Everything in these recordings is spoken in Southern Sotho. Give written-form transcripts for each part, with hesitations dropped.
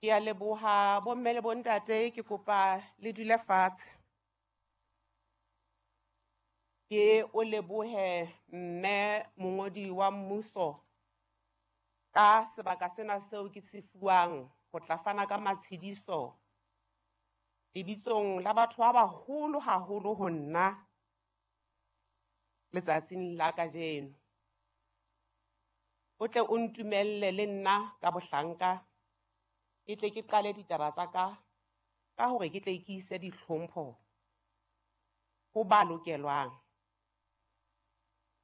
Ke a leboha bomme le bontate, ke kopa le dule fatshe. Ke o lebohe mme mongodi wa mmuso ka sebaka sena seo ke se fuwang ho tla fana ka matshidiso lebitsong la batho ba baholo haholo ho nna letsatsing la kajeno. O tle o ntumelle le nna ka bohlanka ke tle ke qale ditaba tsa ka ka hore ke tle ke ise dihlompho ho ba lokelwang.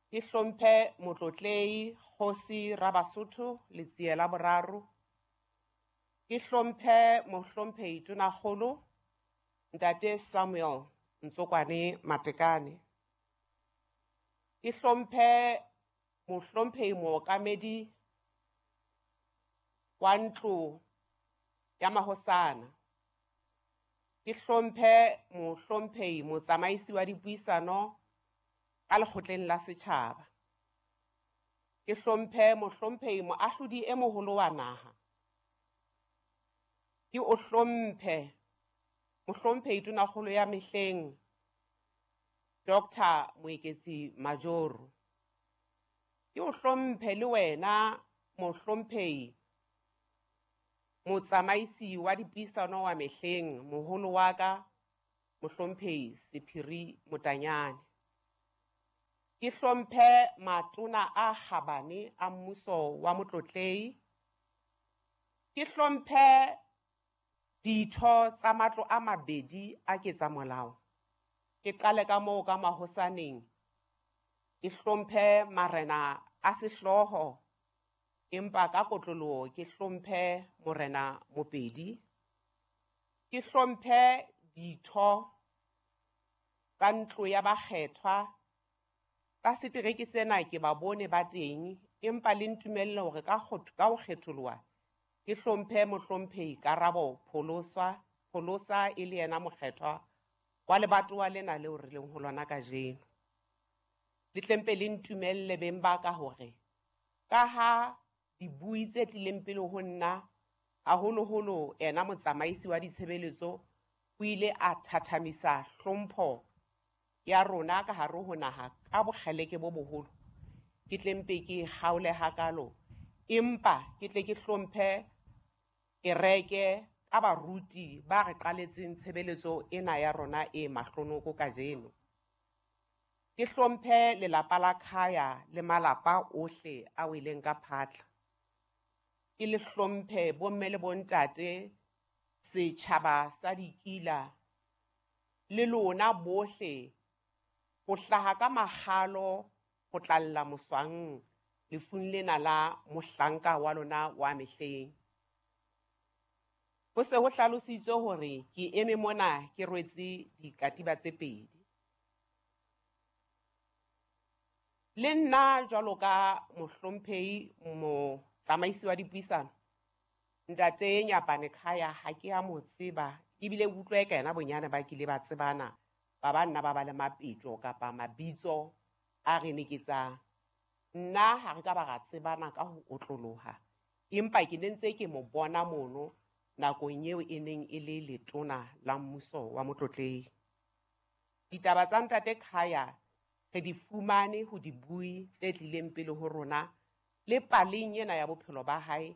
Ke hlomphe Motlotlehi Kgosi Rabasotho Letsie la Boraro. Ke hlomphe Mohlomphehi Tonakgolo Ntate Samuel Ntsokwane Matekane. Ke hlomphe Mohlomphehi Mookamedi wa ntlo ya mahosana. Ke hlomphe Mohlomphehi Motsamaisi wa dipuisano ka lekgotleng la setjhaba. Ke hlomphe Mohlomphehi Moahlodi e moholo wa naha. Ke o hlomphe Mohlomphehi Tonakgolo ya mehleng Dr. Moeketsi Majoro. Ke o hlomphe le wena Mohlomphehi Motsamaisi wa dipuisano wa mehleng moholo wa ka Mohlomphehi Sephiri Motanyane. Ke hlomphe matona a kgabane a mmuso wa Motlotlehi. Ke hlomphe ditho tsa matlo a mabedi a ketsamolao. Ke qale ka moo ka mahosaneng. Ke hlomphe marena a sehlooho, empa ka kotloloho ke hlomphe Morena Mopedi. Ke hlomphe ditho tsa ntlo ya bakgethwa. Ka setereke sena ke ba bone ba teng, empa le ntumelle hore ka ka ho kgetholoha ke hlomphe Mohlomphehi Karabo Pholosa, Pholosa e le yena mokgethwa wa lebatowa lena leo re leng ho lona kajeno. Le tle mpe le ntumelle beng ba ka hore ka ha dibui tse tlileng pele ho nna haholoholo ena motsamaisi wa ditshebeletso o ile a thathamisa hlompho ya rona ka hare ho naha ka bokgeleke bo boholo. Ke tle mpe ke kgaole hakalo, empa ke tle ke hlomphe kereke ka baruti ba re qaletseng tshebeletso ena ya rona e mahlonoko kajeno. Ke hlomphe lelapa la Khaya le malapa ohle a weleng ka phatla. Ke le hlomphe bomme le bontate, setjhaba sa Dikila le lona bohle ho hlaha ka makgalo ho tlalla moswang lefung lena la mohlanka wa lona wa mehleng. Ho se ho hlalositswe hore ke eme mona ke rwetse dikatiba tse pedi. Le nna jwalo ka Mohlomphehi Motsamaisi wa dipuisano Ntate Nyapane Khaya ha ke a mo tseba, ebile ke utlwa eka yena bonyane ba kile ba tsebana ba ba nna ba ba le mapetjo kapa mabitso a re neketsang. Nna ha re ka ba ra tsebana ka ho otloloha, empa ke ne ntse ke mo bona mono nakong eo e neng e le letona la mmuso wa Motlotlehi. Ditaba tsa Ntate Khaya re di fumane ho dibui tse tlileng pele ho rona le paleng ena ya bophelo ba hae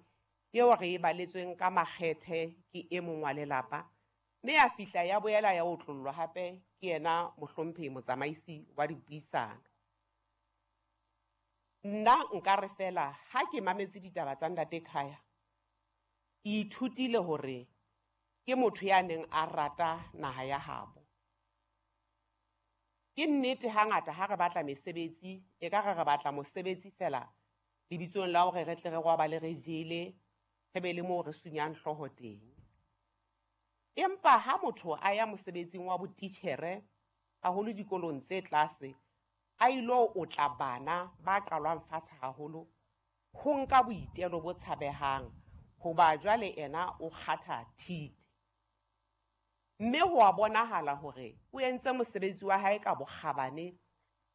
eo re e baletsweng ka makgethe ke e mong wa lelapa, mme ya fihla ya boela ya otlollwa hape ke yena Mohlomphehi Motsamaisi wa dipuisano. Nna nka re fela ha ke mametse ditaba tsa Ntate Khaya, ke ithutile hore ke motho ya neng a rata naha ya habo. Ke nnete hangata ha re batla mesebetsi, e ka re re batla mosebetsi fela lebitsong la hore re tle re robale re jele, re be le moo re sunyang hlooho teng. Empa ha motho a ya mosebetsing wa botitjhere, haholo dikolong tse tlase, a ilo otla bana ba qalwang fatshe haholo, ho nka boitelo bo tshabehang hoba jwale ena o kgatha thite. Mme ho a bonahala hore o entse mosebetsi wa hae ka bokgabane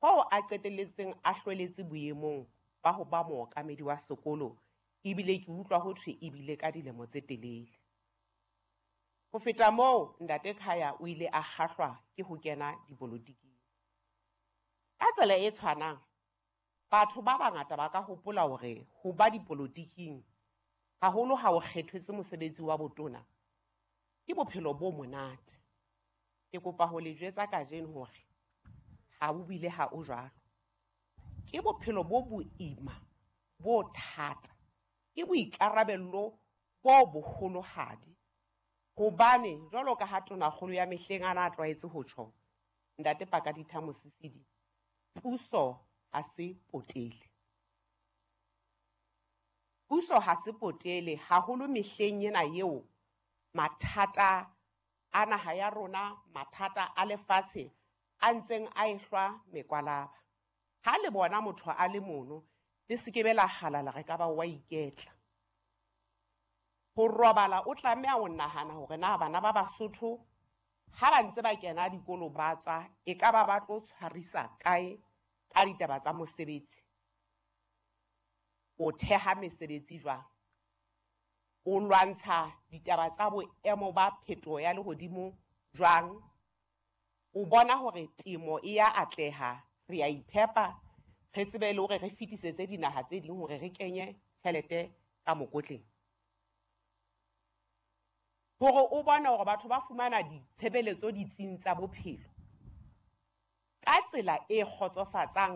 hoo a qetelletseng a hlweletse boemong ba ho ba mookamedi wa sekolo, ebile ke utlwa ho thwe ebile ka dilemo tse telele. Ho feta moo, Ntate Khaya o ile a kgahlwa ke ho kena dipolotiking. Ka tsela e tshwanang, batho ba bangata ba ka hopola hore ho ba dipolotiking, haholo ha o kgethetswe mosebetsi wa botona, ke bophelo bo monate. Ke kopa ho le jwetsa kajeno hore ha o bile ha o jwalo. Ke bophelo bo boima, bo thata, ke boikarabello bo boholohadi hobane jwalo ka ha Tonakgolo ya mehleng a na tlwaetse ho tjho, Ntate Pakalitha Mosisili, puso ha se potele. Puso ha se potele haholo mehleng ena eo mathata a naha ya rona, mathata a lefatshe a ntseng a ehlwa mekwalaba. Ha le bona motho a le mono, le se ke be la kgalala re ka ba wa iketla. Ho robala o tlameha ho nahana hore na bana ba Basotho ha ba ntse ba kena dikolo ba tswa, e ka ba ba tlo tshwarisa kae ka ditaba tsa mosebetsi. O theha mesebetsi jwang? O lwantsha ditaba tsa boemo ba phetoho ya lehodimo jwang? O bona hore temo e ya atleha, re ya iphepa, re tsebe le hore re fetisetse dinaha tse ding hore re kenye tjhelete ka mokotleng. Hore o bone hore batho ba fumana ditshebeletso ditsing tsa bophelo ka tsela e kgotsofatsang.